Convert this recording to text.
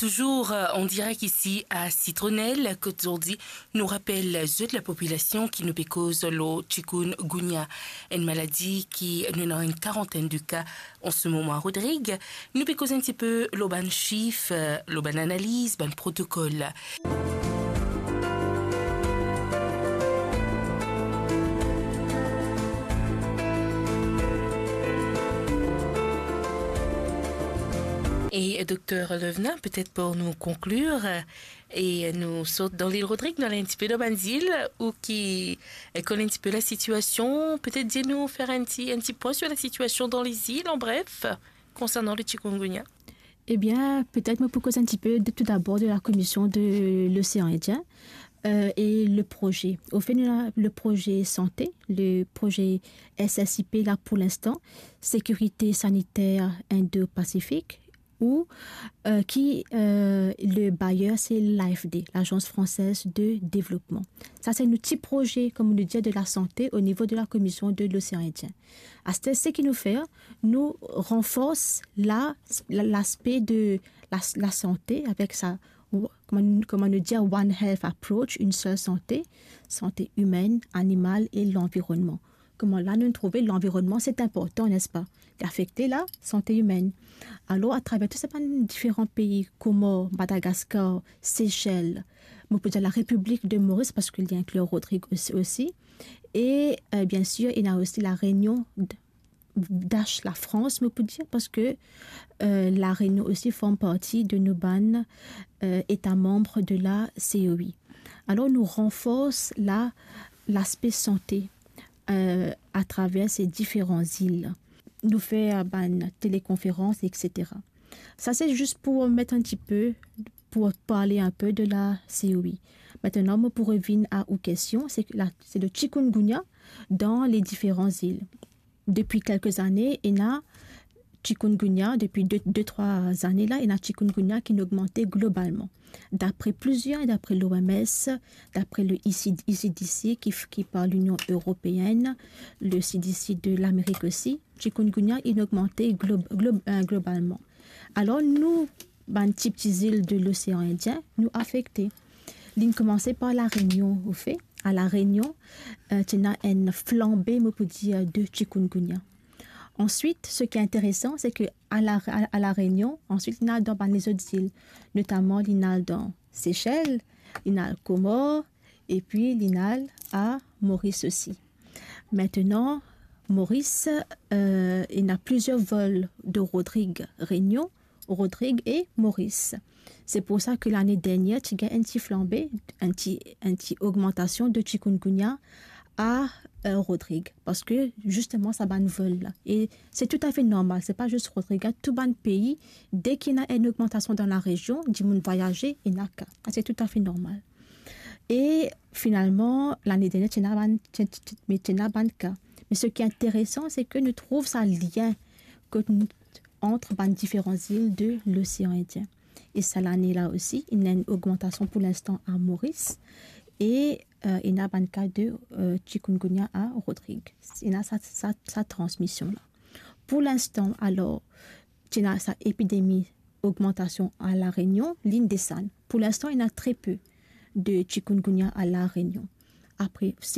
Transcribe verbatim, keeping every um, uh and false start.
Touzour, euh, an direk isi a Sitronel, kot zordi nou rapel zot lapopilasion ki nou pe koz lor chikungunya, enn maladi ki nou ena enn karantenn de ka an se moman a Rodrig. Nou pe koz enn tipe lor bann sif, euh, lor bann analiz, bann protokol. E, Dokter Levna, petet pou nou konklir, e nou sort dan lil Rodrig, nou al enn tipe dan bann zil, ou ki, e, konn enn tipe lasitiasion, petet dir nou, fer enn ti, enn ti pwin sir lasitiasion dan lezil, an bref, konsernan le chikungunya. Ebien, petet mo pou koz enn tipe de, tou dabor de la Komision de Losean Indien, euh, e le proze. Anfet, nou ena le proze sante, le proze S S I P la pou linstan, Sécurité Sanitaire Indo-Pacifique, ou, euh, ki, euh, le bayer se l'A F D, l'Agence Française de Développement. Sa se nou ti proze, kouma nou dir, de lasante o nivo de la Komision de Losean Indien. Aster, seki nou fer, nou ranfors la, la, laspe de la, lasante avek sa, kouma, kouma nou dir, One Health Approach, enn sel sante, sante imenn, animal e lanvironnman. Kouma la nou trouve lanvironnman, se inportan, nespa? Li afekte lasante imenn. Alor, atraver tou sa bann diferan pei, Komor, Madagaskar, Sesel, mo pou dir la Repiblik de Moris, parski li inkli Rodrig osi, osi. E, euh, bien sir, ena osi La Réunion, d-, dash Lafrans, mo pou dir, parski, euh, La Réunion osi form parti de nou bann, euh, eta manm de la C O I. Alor, nou ranfors la, laspe sante, euh, atraver se diferan zil. Nou fer bann telekonferans, et cetera. Sa se zis pou met enn tipe, pou parle enn pe de la C O I. Aster, mo pou revinn a ou kestion, se la, se le chikungunya dan le diferan zil. Depi kelke zane, ena chikungunya, depi de, de, trwa zane la, ena chikungunya ki inn ogmante globalman. Dapre plizier, dapre l'O M S, dapre le E C D, E C D C ki, ki par Linion Eropeenn, le C D C de Lamerik osi, chikungunya inn ogmante glo-, glo-, euh, globalman. Alor, nou, bann ti, ti zil de Losean Indien, nou afekte. Linn koumanse par La Réunion, anfet. A La Réunion, euh, ti ena enn flanbe, mo pou dir, de chikungunya. Answit, seki interesan, se ke a La, a, a La Réunion, answit, linn al dan bann lezot zil, notaman linn al dan Sesel, linn al Komor, epi linn al a Moris osi. Aster, Moris, euh, ena plizier vol de Rodrig Réunion, Rodrig e Moris. Se pou sa ke lane dernier, ti gagn enn ti flanbe, enn ti, enn ti ogmantasion de chikungunya a, euh, Rodrig. Parski, zisteman, sa bann vol la. E se toutafe normal, se pa zis Rodrig, tou bann pei, deki ena enn ogmantasion dan larezion, dimoun vwayaze, ena ka. Sa se toutafe normal. E finalman, lane dernier, ti ena bann, ti, ti, ti, me ti ena bann ka. Me seki interesan, se ke nou trouv sa lien kot nou, ant bann diferan zil de Losean Indien. E sa lane la osi, ena enn ogmantasion pou linstan a Moris, e, euh, ena bann ka de, euh, chikungunya a Rodrig. Ena sa, sa, sa transmision la. Pou linstan, alor, ti ena sa epidemi, ogmantasion a La Réunion, linn desann. Pou linstan, ena tre pe de chikungunya a La Réunion. Apre,